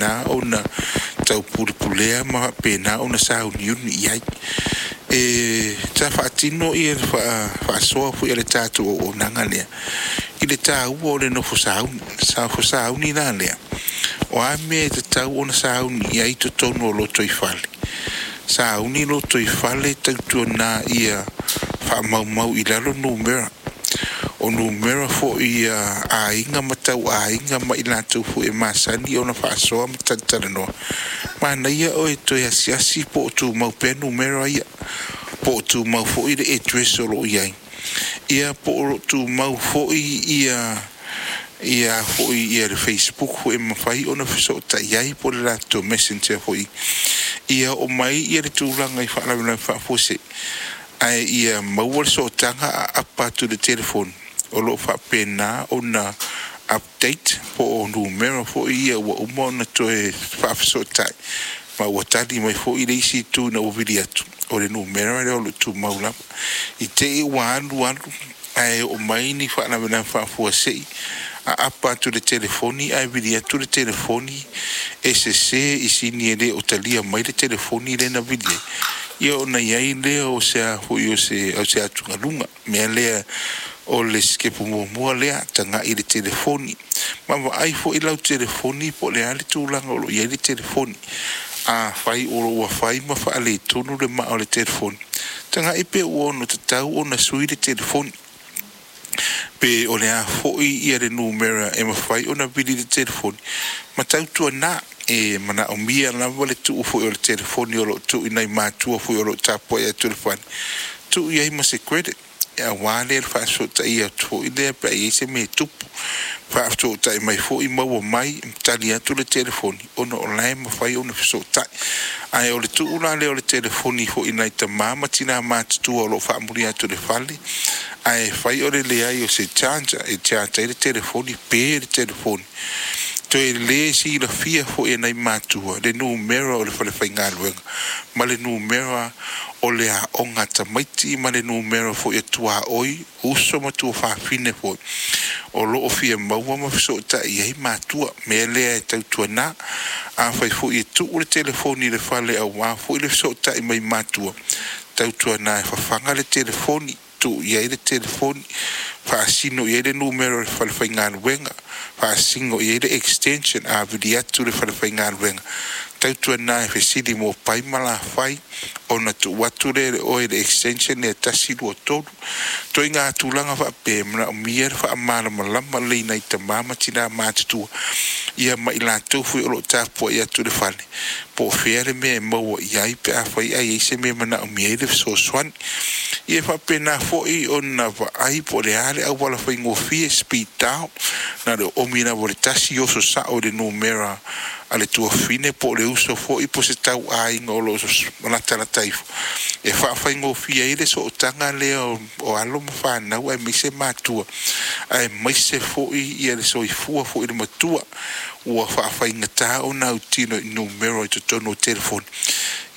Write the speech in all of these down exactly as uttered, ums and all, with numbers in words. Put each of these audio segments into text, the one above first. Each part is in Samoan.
Faapena ona taupulepulea ma faapena ona sauniuni i ai. E sa faatino ia le faasoa foi a le tatou auaunaga lea i le taua o le nofo sauni. Nofo sauni la lea, o a mea e tatau ona sauni i ai i totonu o lotoifale, sauni lotoifale tautuana ia faamaumau i lalo numera. O numera foi a aiga ma tauaiga ma i latou foi e masani ona faasoa ma talatalanoa, manaia oe toe asiasi po o tumau pea numera ia, po o tumau foi le address o lo o i ai, ia po o lo o tumau foi ia ia foi ia le Facebook foi e mafai ona fesootai ai po o le latou Messenger foi. Ia oo mai ia le tulaga i faalavelave faafuasei, ae ia maua le sootaga a apa atu i le telefoni o lo o faapena ona update po o numera foi ia ua uma ona toe faafesootai ma ua tali mai foi le isi itu ina ua vili atu, o le numera lea o lo o tumau lava. I te i ua alu alu ae oo mai ni faalavelave faafuasei, a apa atu i le telefoni ae vili atu le telefoni e sese i sini e le o talia mai le telefoni lea na vili ai, ia ona i ai lea o se a foi o se, o se atugaluga. Mea lea o le sitepu muamua lea, tagai i le telefoni. Ma vaai foi lau telefoni po o le a le tulaga o lo o i ai le telefoni. Afai o lo o ua fai ma faaletonu le maa o le telefoni, tagai pe ua ono tatau ona sui le telefoni, pe o le a foi ia le numera e mafai ona vili le telefoni, ma tautuana e manaomia lava le tuu foi o le telefoni o lo o tuu i nai matua foi o lo o tapuai atu i le fale, tuu i ai ma se credit aua lea le faafesootaia atu foi lea pe a i ai se mea e tupu. Faafesootai mai foi maua mai, tali atu le telefoni ona o la e mafai ona fesootai. Ae o le tuu la lea o le telefoni foi i nai tama ma tina matutua o lo o faamuli atu i le fale, ae fai o le leai o se charger e charge ai le telefoni, pe le telefoni, toe le silafia foi e nai matua le numera o le fale faigaluega ma le numera o le aoga a tamaiti ma le numera foi e tuaoi, uso ma tuafafine foi o lo o fia maua ma fesootai i ai matua. Mea lea e tautuana, afai foi e tuu le telefoni i le fale aua foi le fesootai mai matua, tautuana e fafaga le telefoni, tuu i ai le telefoni, faasino i ai le numera o le fale faigaluega, faasino i ai le extension a vili atu le fale faigaluega, tautuana e fesili mo pai ma lafai ona tuu atu lea e le oe le extension lea tasi lua tolu. Ituaiga tulaga faapea e manaomia le faamalamalama lelei i nai tama ma tina matutua ia ma i latou foi o lo o tapuai atu i le fale, po o fea le mea e maua i ai pe afai ae i ai se mea e manaomia ai le fesoasoani. Ia e faapena foi ona vaai po o le a le auala faigofie, speed dial, na o le oomi lava o le tasi oso sao i le numera a le tuafafine po o le uso foi po o se tauaiga o lo o latalata ifo e faafaigofie ai le sootaga lea o alo ma fanau aemaise matua, aemaise foi ia le soifua foi i le matua ua faafaigata ona autino i numera i totonu o telefoni.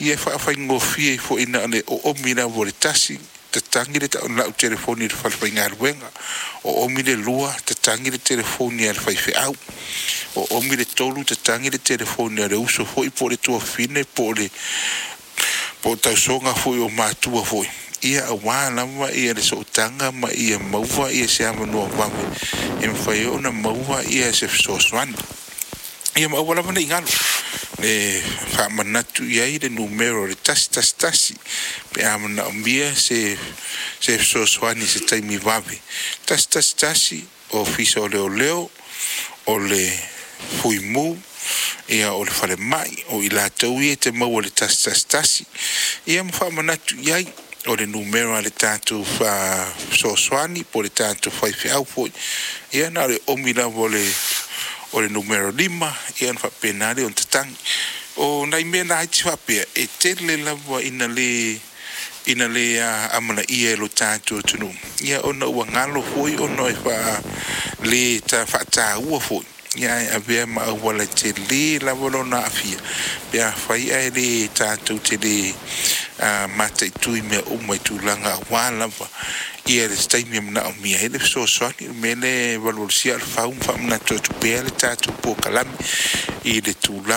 Ia e faafaigofie ai foi na o le oomi lava o le tasi, tatagi le lau telefoni i le fale faigaluega, oomi le lua, tatagi le telefoni a le faifeau, oomi le tolu, tatagi le telefoni a le uso foi po o le tuafafine po o le po o tausoga foi o matua foi, ia aua lava ia le sootaga ma ia maua ia se avanoa vave e mafai ai ona maua ia se fesoasoani. Ia ma aua lava ne i galo e faamanatu i ai le numera o le tasi tasi tasi pe a manaomia se se fesoasoani i se taimi vave. Tasi tasi tasi, Ofisa o Leoleo, o le Fuimu, ia o le falemai, o i latou ia e te maua i le tasi tasi tasi. Ia ma faamanatu i ai o le numera a le tatou fesoasoani po o le tatou faifeau foi, ia na o le oomi lava o le o le numera lima, ia ona faapena lea ona tatagi. O nai mea laiti faapea, e tele lava ina le ina le amanaia e lo tatou atunuu, ia ona ua galo foi ona e faa le faataua foi, ia ae avea ma auala e tele lava lona aafia pe afai ae le tatou te le mataitu i mea uma i tulaga aua lava ia le taimi e manaomia ai le fesoasoani. O le mea lea e valuvalusia aa o le fau ma faamanatu atu pea le tatou polokalame i le tulaga